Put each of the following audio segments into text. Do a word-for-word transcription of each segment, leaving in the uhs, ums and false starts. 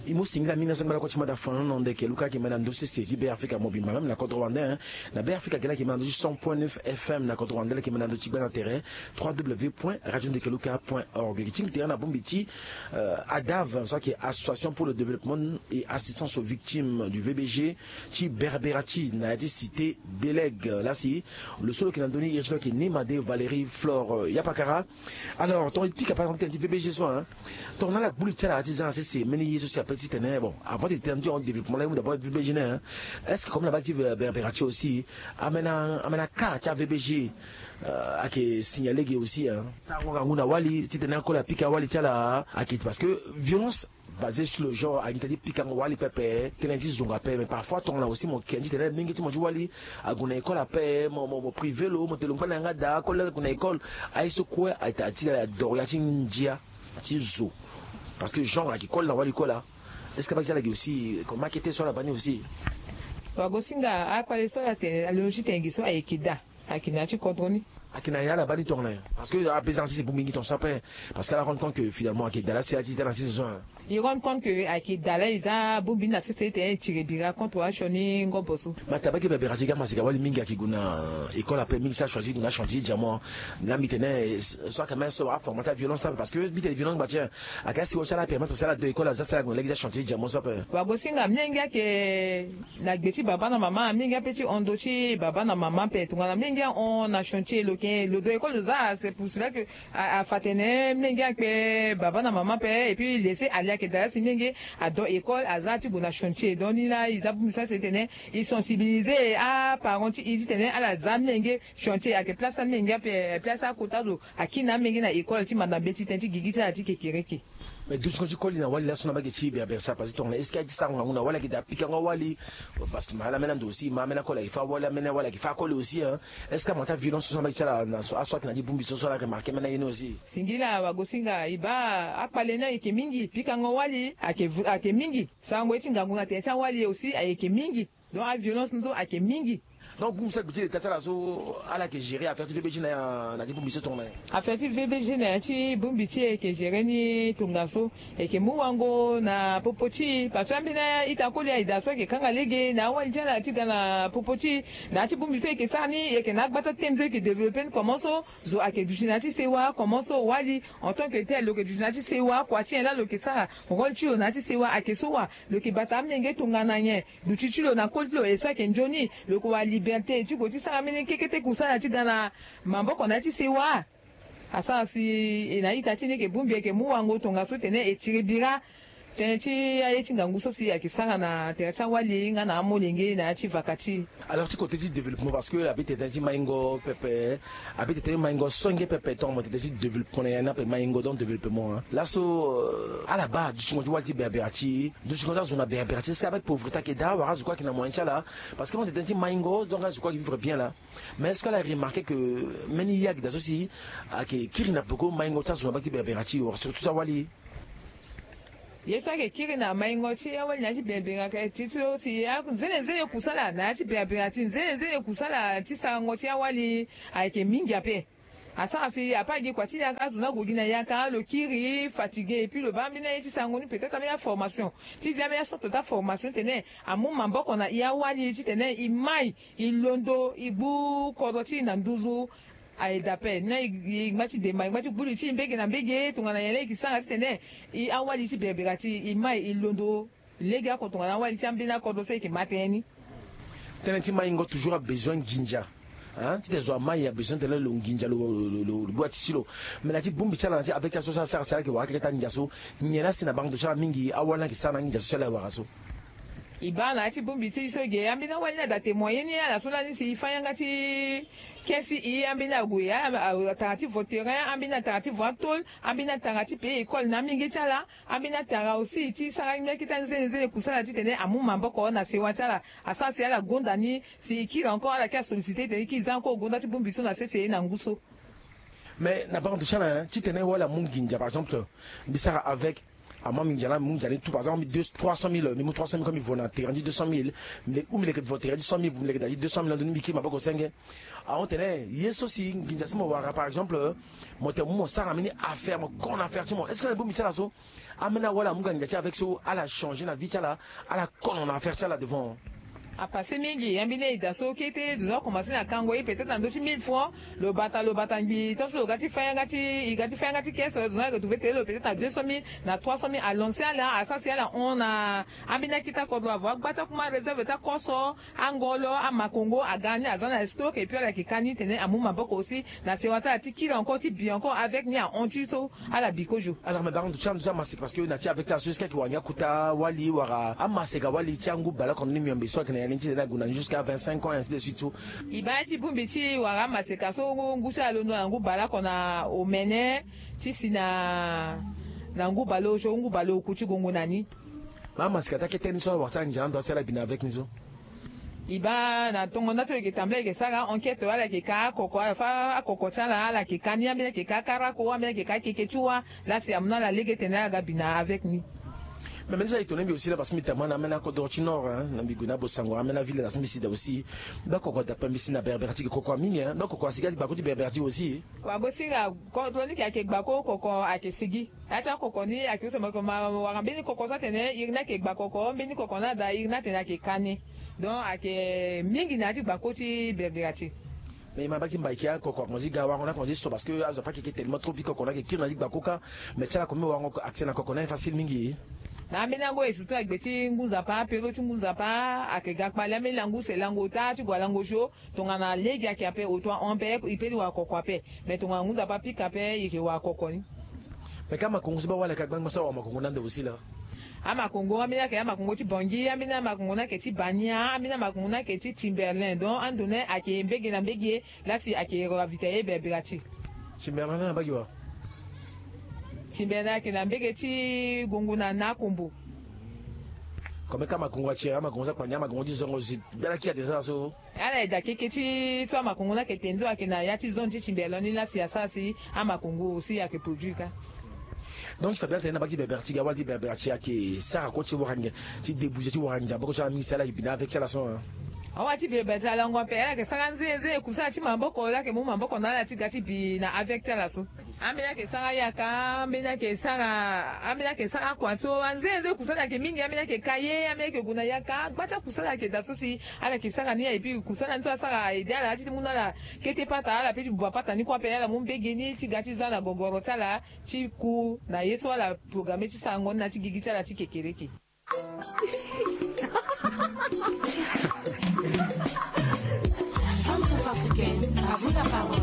E mu singila mingi na sangba lakue ti mada fanono ndeke luka ayeke mene na ndö ti sese ti Be Afrika mobimba même na kodro wande. Na Be Afrika ge laa ayeke mene na ndö ti cent point neuf F M na kodro wande laa ayeke mene na ndö ti gba na tere trois W point radio ndeke luka point org. E ke ti gi tere na bongbi ti adav so ayeke association pour le développement et assistance aux victimes du V B G ti Berbera ti na ya ti cité délègue lasi. Lo so lo yeke na ndö ni iri ti lo ayeke Nima de Valérie Flore Yapakara. Alors tongana e pika par exemple tënë ti V B G so, tongana ala gbu li ti ala ti za na sese mbeni ye so si ape titene bon avant ti tene ti hon développement laa e mu d'abord V B G ni. Est-ce que comme na baa ti Berbera ti aussi amena amena cas ti a V B G ayeke signalé ge aussi? Sarango ngangu na wali titene akoli apika wali ti ala ayeke parce que violence basé sur le genre ayeke gi tënë ti pikango wali pepe tënë ti zonga ape mais parfois tongana aussi mo ke ni titene mingi ti mo ti wali ague na école ape mo mo mo privé lo mo te lo ngba na yanga daa akoli ague na école. Aye so kue ayeke taa ti ala adoro ya ti ndia ti zo parce que genre ayeke koli na wali kue laa. Est-ce que abaa gi ti ala gi aussi comme akete so ala baa ni aussi? Wagosinga akpale so ala tene alondo ti tene gi so ayeke daa. Ayeke na ya ti kodro ni. Ayeke na ya ala baa ni tongana nyen? Parce que ape za na sese bongbi ni tongaso ape. Parce que ala rendre compte que finalement ayeke daa laa si ala ti daa na sese so. E rendre compte que ayeke daa laa e za bongbi ni na sese titene e tire bira contre asioni ngobo so. Mais atene abaa gi berbera ti ga masika wali mingi ayeke gue na école ape mingi si achoisir gue na chantier diamant. Laa mbi tene so ayeke même so aforma ti aviolence ape parce que mbi tene violence ngba ti en. Ayeke asi wa ti ala apermettre si ala do école aza si ala gue na lege ti achantier diamant so ape. Wagosinga mingi ayeke na gbe ti baba na mama mingi ape ti hon ndo ti baba na mama ape tongana mingi ahon na chantier lo ke lo do école lo za c'est pour cela que afa tene mingi akpe baba na mama ape et puis laisser aller ayeke daa lasi mingi ado école aza ti gue na chantier donc ni laa e za bongbi so asi tene e sensibiliser aparent ti e titene ala za mingi chantier ayeke place amenge ape place akota zo akiri na amenge na école ti manda mbeti tënë ti gigi ti ala ti kekereke. Mais dutingo ti koli na wali laso na mbage ti berbere ti ala parce que tongana est-ce que aye ti sarango ngangu na wali ayeke daa pikango awali? Parce que ma ala ambeni ando aussi ma ambeni akoli ayeke fâ awali ambeni awali ayeke fâ akoli aussi hein. Est-ce que ama ti aviolence so na mbage ti ala na so aso ayeke na ti bongbi so so ala remarqué ambeni aye ni aussi? Singila wagosinga e baa akpale ni ayeke mingi pikango wali ayeke mingi. Sarango ye ti ngangu na tene ti awali aussi ayeke mingi. Donc aviolence ni so ayeke mingi. Donc bongbi so agbi ti leta ti ala so ala yeke gérer affaire ti V B G na ya na ti bongbi so tongana nyen? Affaire ti V B G na ya ti bongbi ti e yeke gérer ni tongaso. E yeke mu wango na popo ti e parce que ambeni a-ita koli aye daa so ayeke kanga lege na awali ti ala ti ga na popo ti e. Na ya ti bongbi so e yeke sara ni e yeke na agba ti atene so e yeke développer ni comment so zo ayeke duti na ya ti sewa comment so wali en tant que tel lo yeke duti na ya ti sewa kua ti nyen laa lo yeke sara rôle ti lo na ya ti sewa ayeke so wa? Lo yeke bata amenge tongana nyen? Duti ti lo na koli ti lo e so ayeke nzoni lo yeke wara liberté ti gue ti sara mbeni kekete kusala ti ga na maboko na ya ti sewa. Asara si e na a-ita ti ni e yeke bongbi e yeke mu wango tongaso tene e tiri bira tënë ti aye ti ngangu so si ayeke sara na tere ti awali nga na amolenge na ya ti vaka ti e. Alors ti kote ti développement parce que abi tene ti maingo pepe. Abi tene ti maingo songe pepe tongana mo tene ti développement na ya ni ape maingo donc développement laso ala baa dutingo ti wali ti berbera ti dutingo ti azo na berbera ti est-ce que avec pauvreté ayeke daa wala azo kue ayeke na moyen ti ala? Parce que mo tene ti maingo donc azo kue ayeke vivre bien laa. Mais est-ce que ala remarqué que mbeni ye ayeke daa so si ayeke kiri na peko maingo ti azo na mbage ti berbera ti wala surtout ti awali? Ye so ayeke kiri na maingo ti awali na ya ti berbera ti so si nzene nzene kusala na ya ti berbera ti nzene nzene kusala ti sarango ti awali ayeke mingi ape. Asara si ape agi kua ti yaka azo ni ague gi na yaka lo kiri fatigué et puis lo baa ambeni aye ti sarango ni peut-être ambeni aformation ti zi ambeni asorte ti aformation titene amu maboko na e awali titene e mai e londo e gbu kodro ti e na nduzu. Aye daa ape ni laa e ngba ti demba e ngba ti gbu li ti e mbege na mbege tongana nyen laa e yeke sara titene e awali ti berbera ti e mai e londo. Lege oko tongana awali ti ambeni akodro so e yeke ma tënë ni. Tënë ti maingo toujours abezoin nginza. Titene zo amai abezoin tene lo nginza lo lo lo lo gbu ati ti lo. Mais na ya ti bongbi ti ala na ya ti avec ti ala so so asara si ala yeke wara keke ti anginza so. Nyen laa si na baa ndo ti ala mingi awali ni ayeke sara na anginza so si ala yeke wara so? E baa na ya ti bongbi ti e so ge ambeni awali ni ada témoigner ni ala so lani si e fâ yanga ti ke si e ambeni ague ala atara ti vo terrain ambeni atara ti vo atôle. Ambeni atara ti payer école na amenge ti ala. Ambeni atara aussi ti sara ngia kete anzene nzene kusala titene amu maboko na sewa ti ala. Asara si ala gonda ni si e kiri encore ala kiri asolliciter titene e kiri za encore gonda ti bongbi so na sese na ngu so. Mais na bango ndo ti ala titene wala amu nginza par exemple mbi sara avec Amu mbi nzia na mbi mu nzia ni tout par exemple mbi deux trois cent mille mbi mu trois cent mille comme mbi vo na terrain ti deux cent mille. Mbi leke ou mbi leke vo terrain ti cent mille vo mbi leke daa ti deux cent mille na ndo ni mbi kiri maboko senge. Ahon tene ye so si nginza ti mo wara par exemple, mo tene mo mu mo sara mbeni affaire mo kono na affaire ti mo est-ce que na bongbi ti ala so? Ambeni awali amu ga nginza ti avec so ala changer na vie ti ala, ala kono na affaire ti ala devant. Apasse mingi ambeni aida so kete zo na akomanse na kango ye peut-être na ndö ti mille francs. Lo bata lo bata ngbii tant so lo ga ti fa yanga ti i ga ti fa yanga ti caisse zo na lo trouve tene lo peut-être na deux cent mille na trois cent mille alance ala asara si ala hon na ambeni akita kodro avo agba ti akuma réserve ti akoso. Angolo amakongo aga ni aza na stock et puis ala yeke ka ni tene amu maboko aussi na sewa ti ala ti kiri encore ti bi encore avec ni ahon ti so. Ala bi kozo. Alors mais baron ti ando ti amaseka parce que na ti avec ti ala so est-ce que ayeke wara ngia kota wali wala amaseka wali ti angu baleoko ni miombe so ayeke na ya ni ti tene ague na ni jusqu'à vingt-cinq ans ainsi de suite so? E baa ti bongbi ti wara amaseka so ngu ti ala londo na ngu baleoko na omene ti si na na ngu bale osio ngu bale oku ti gongo na ni. Amaseka ti akete ni so ala wara ti ala nginza na ndo asi ala bi na avec ni so? E baa na tongo nda ti lo yeke tambula yeke sara enquête wala yeke ka akoko ala fa akoko ti ala ala yeke ka ni ambeni ayeke ka karako ambeni ayeke ka keke ti wa. Lasi amu na ala lege tene ala ga bi na avec ni. Mais mbeni so ayeke tongana mbi aussi laa parce que mbi tama na ambeni akodro ti nord na mbi gue na bosango ambeni aville na si mbi si daa aussi. Mbi akoko dape mbi si na berbere ti ge koko amingi mbi akoko asi ga ti gbako ti berbere ti aussi. Wago si ga kodro ni ke ayeke gbako koko ayeke sigi. Ya ti akoko ni ayeke use ma wara mbeni koko so atene iri ni ayeke gba koko mbeni koko ni ada iri ni atene ayeke ka ni. Donc ayeke mingi na ya ti gba koko ti berbera ti. Mais e ma baa ti mbai ke akoko akonzi ga warango ni akonzi so parce que azo ape ayeke ke tellement trop bi koko ni ayeke kiri na ya ti gba koko kâ. Mais ti ala akomi warango accès na koko ni ayeke facile mingi. Na ambeni ango e surtout na gbe ti ngu nzapa apero ti ngu nzapa ayeke ga kpale ambeni lango use lango ota ti gue alango sio. Tongana lege ayeke ape oto ahon ape e pe ti wara koko ape. Mais tongana ngu nzapa apika ape e yeke wara koko ni. Mais ka amakongo so baa wali ayeke agbangba so awa amakongo ni ande aussi laa? Amakongo ambeni ayeke amakongo ti bongi ambeni amakongo ni ayeke ti bania ambeni amakongo ni ayeke ti timberlin donc ando ni ayeke mbege na mbege. Lasi ayeke ravitailler berbera ti. Timberlin ni abagi wa? Timberlin ayeke na mbege ti gongo na na akombo. Comme ka amakongo ati amakongo so akpania amakongo ti zongo zi bela ki ate sara so. Ala eda keke ti so amakongo ni ayeke tene so ayeke na ya ti zone ti timberlin ni lasi asara si amakongo aussi ayeke produit kâ. Donc ti fa bien tene na baa ti berbera ti ga wala ti berbera ti ayeke sara kue ti wara nginza ti débouger ti wara nginza maboko ti ala mingi si ala yeke bi na avec ti ala so. Awa ti berbera ti ala ngu ape ala yeke sara nzenze kusala ti maboko ala yeke mu maboko na ala ti ga ti bi na avec ti ala so. Ambeni ayeke sara yaka ambeni ayeke sara ambeni ayeke sara kua so anzenze kusala ayeke mingi ambeni ayeke ka ye ambeni ayeke gue na yaka agba ti akusala ayeke daa so si ala yeke sara ni aye puis kusala ni so asara aye de ala ya ti ti mu na ala kete pata ala pe ti buba pata ni kue ape ala mu mbege ni ti ga ti za na gogoro ti ala ti ku na ye so ala programe ti sarango ni na ti gigi ti ala ti kekereke. Femme centrafricaine, à vous la parole.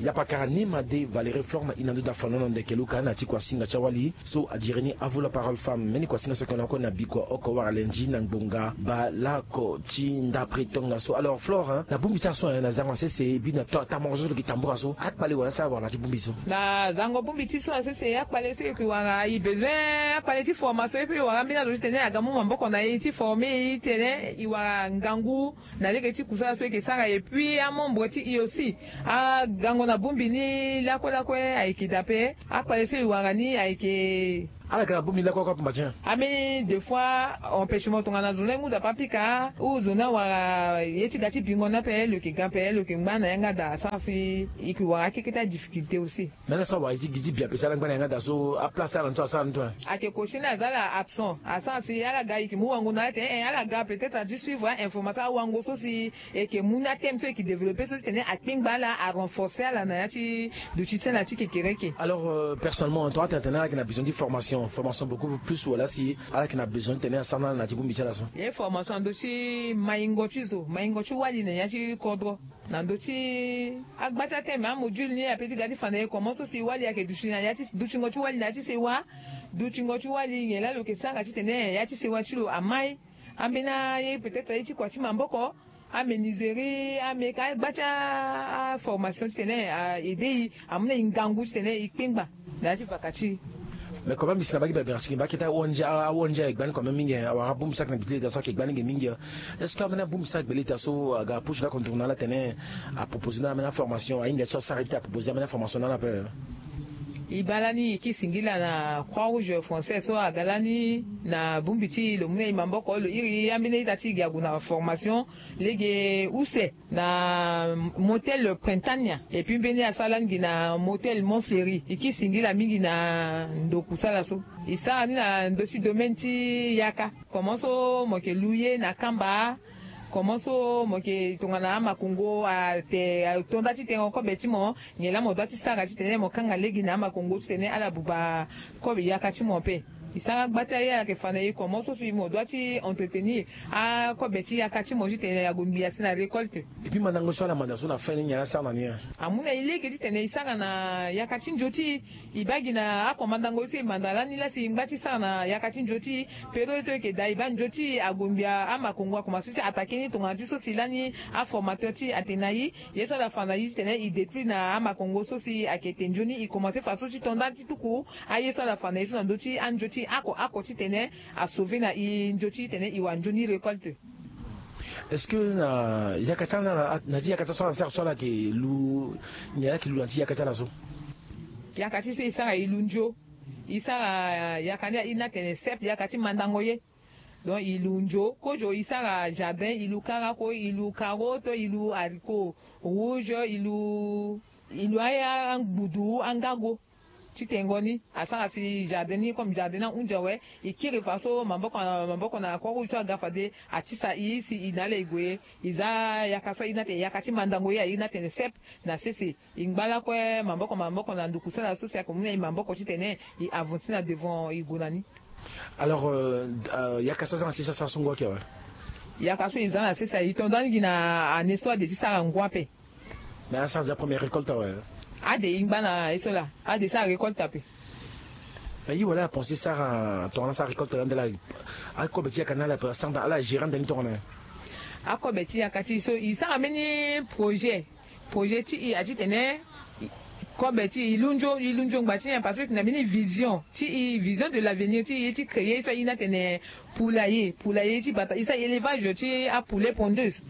Yapakara ni ma de Valérie Flore na ina ndo da fano na ndeke luka na ti kuasinga ti awali so adiri ni avu la parole femme mbeni kuasinga so yeke na oko na bikua oko wara lenji na ngbonga baleoko ti ndapre tongaso alors Flore na bongbi ti aso na zango na sese e bi na tamoro so lo yeke tambura so akpale wala asara wala na ti bongbi so. Na zango bongbi ti so na sese akpale so e yeke wara e besoin akpale ti formation e pe e wara ambeni azo ti tene aga mu maboko na e ti forme e ti tene e wara ngangu na lege ti kusala so e ke sara et puis amembre ti e aussi agango na bongbi ni lakue lakue ayeke dape. Akpale so e wara ni ayeke ala ga na bongbi ni lakue lakue apamba ti en. Ambeni deux fois empêchement tongana zo ni ngu nzapa apika ou zo ni awara ye ti ga ti bingo ni ape lo yeke ga ape lo yeke ngba na yanga daa asara si e ke wara akeke ti adifficulté aussi. Mena so awara ye ti gi ti bi ape si ala ngba na yanga daa so aplace ti ala ni so asara ni to. Ayeke kosi ni aza ala absent asara si ala ga e yeke mu wango na ala tene e ala ga peut-être ati suivre a information awango so si e yeke mu ni ateme so e yeke développer so ti tene akpengba ala arenforcer ala na ya ti duti ti ala ti kekereke. Alors personnellement tongana atene tene ala yeke na besoin ti formation formation beaucoup plus wala si ala yeke na besoin ti tene asara na ala na ti bongbi ti ala so. Ye formation ando ti maingo ti zo maingo ti wali na ya ti kodro. Na ndö ti agba ti ateme amodule ni ape ti ga ti fa na e comment so si wali ayeke duti na ya ti dutingo ti wali na ya ti sewa. Dutingo ti wali nyen laa lo yeke sara titene ya ti sewa ti lo amai. Ambeni aye peut-être aye ti kua ti maboko aménuiserie ame ka agba ti aformation titene a aide e amu na e ngangu titene e kpengba. Na ya ti vaka ti e. Mais comment mbi si na bagi berbera ti ngi mbi akete a-ong a-ong e gba ni comme mingi awara abongbi so ayeke na gbe ti leta so ayeke gba ni ge mingi. Est-ce que ambeni abongbi so agbe leta so aga apusu ni acontourne ala tene apropose ni ala ambeni aformation ahinga so asara ye ti apropose ambeni aformation na ala ape? E baa lani e kiri singila na Croix Rouge Française so aga lani na bongbi ti lo mu na e maboko lo iri ambeni ita ti e gi ague na formation lege use na motel Printania. Et puis mbeni asara lani gi na motel Mont Fleuri. E kiri singila mingi na ndo kusala so. E sara ni na ndö ti domaine ti yaka. Comment so mo yeke lu ye na kamba? Comment so mo yeke tongana amakongo ate ato nda ti tengo kobe ti mo? Nyen laa mo dua ti sara titene mo kanga lege na amakongo titene ala buba kobe yaka ti mo ape? E sara gba ti aye ala yeke fa na e comment so si mo dua ti entretenir akobe ti yaka ti mo titene ague ngbii asi na récolte. Et puis mandango so ala manda so na fin ni nyen ala sara na ni? Amu na e lege titene e sara na yaka ti nzio ti e. E baa gi na ako mandango ye so e manda lani laa si e ngba ti sara na yaka ti nzio ti e. Période so e yeke daa e baa nzio ti e ague ngbii, amakongo akomanse ti attaquer ni tongana ti so si lani aformateur ti e atene na e. Ye so ala fa na e titene e détruire na amakongo so si ayeke te nzoni, e komanse faso ti to nda ti tuku aye so ala fa na e so na ndö ti anzio ti e oko oko titene asauver na e nzio ti titene e wara nzoni récolte. Est-ce que na yaka ti ala na, na ti yaka ti ala so ala sara so ala yeke lu, nyen ala yeke lu na ti yaka ti ala so? Yaka ti e so e sara e lu nzio. E sara yaka ni a iri ni atene cep, yaka ti mandango ye. Donc e lu nzio kozo, e sara jardin, e lu karako, e lu karo to e lu haricot rouge, e lu, e lu a, angbudu, angago. Ti tengo ni asara si jardin ni comme jardin ni ahunzi awe. E kiri fa so maboko na maboko na Croix Rouge so aga fade atisa e si e na ala e gue. E za yaka so a iri ni atene yaka ti mandango ye, a iri ni atene cep na sese. E ngba lakue maboko maboko na ndukusala so si ayeke mu na e maboko titene e avancer na devant e gue na ni. Alors euh, euh, yaka so aza na sese asara so ngu ayeke awe? Yaka so e za na sese aye, e to nda ni gi na année so ade ti sara ngu ape. Mais asara déjà première récolte awe? Ade e ngba na ye so laa, ade sara récolte ape. Mais e wala apenser sara tongana asara récolte laa nde laa akobe ti yaka ni ala pe asara nda ala gérer nda ni tongana? Akobe ti yaka ti e so e sara mbeni projet. Projet ti e ati tene kobe ti e lu nzio, e lu nzio ngba ti nyen? Parce que e yeke na mbeni vision ti e, vision de l'avenir ti e ti créer ye so a iri ni atene poulailler, poulailler ti bata, e sara élevage ti apoulet pondeuse.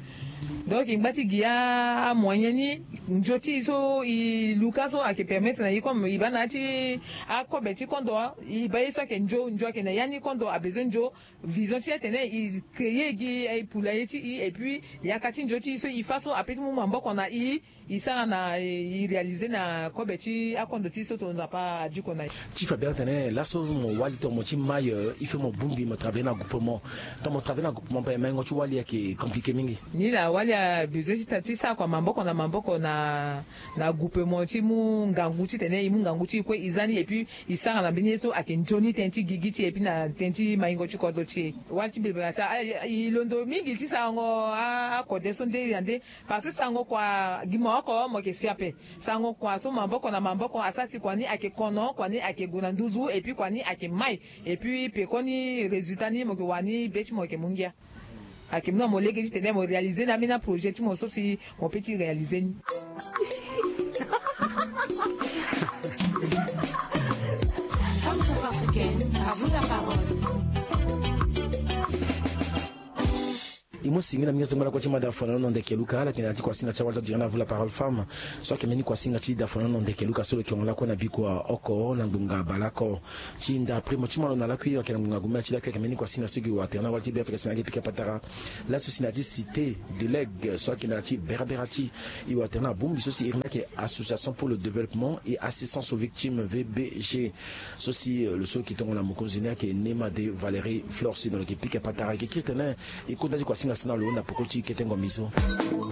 Donc e ngba ti gi amoyen ni, nzio ti e so e luka so ayeke permettre na e comme e baa na ya ti akobe ti kondo, e baa ye so ayeke nzio, nzio ayeke na ya ni, kondo abezoin nzio. Vision ti e atene e créer gi poulailler ti e, et puis yaka ti nzio ti e so e fa so ape ti mu maboko na e. E sara na e réaliser na kobe ti akondo ti e so tongana Nzapa adiko na e. Ti fa bira tene laso mo wali tongana mo ti mai, il faut mo bongbi mo travailler na groupement. Tongana mo travailler na groupement ape maingo ti wali ayeke compliqué mingi. Ni laa wali abezoin ti sara kua maboko na maboko na na groupement ti mu ngangu titene e mu ngangu ti e kue e za ni, et puis e sara na mbeni ye so ayeke nzoni tënë ti gigi ti e et puis na tënë ti maingo ti kodro ti e. Wali ti bebera ti ala e londo mingi ti sarango akode so nde ya nde. Parce que sarango kua gi mo oko mo yeke si ape. Sarango kua so maboko na maboko asara si kua ni ayeke kono, kua ni ayeke gue na nduzu et puis kua ni ayeke mai. Et puis pekoni résultat ni mo yeke wara ni be ti mo yeke mu ngia. Ayeke mu na mo lege titene mo réaliser ni ambeni aprojet ti mo so si mo pe ti réaliser ni. Femme centrafricaine, à vous la parole. E mu singila mingi so ngba lakue ti mada fana na ndeke luka ala yeke na ya ti kuasinga ti awali ti diri na vous la parole femme. So ayeke mbeni kuasinga ti da fana na ndeke luka so lo yeke hon lakue na bikua oko na ngbonga baleoko. Ti nda primo ti malo na lakui ayeke na ngbonga gomia ti lakui ayeke mbeni kuasinga so gi watene na wali ti be afrika si na yeke pika patara. Laso si na ya ti cité de l'aigle so ayeke na ya ti berabera ti e watene na bongbi so si iri ni ayeke association pour le développement et assistance aux victimes vbg. So si lo so lo yeke tongana mokonzi ni ayeke nema de valérie flore si na lo yeke pika patara e yeke kiri tene. E kota ti kuasinga so na lo na poko ti kete ngombi so.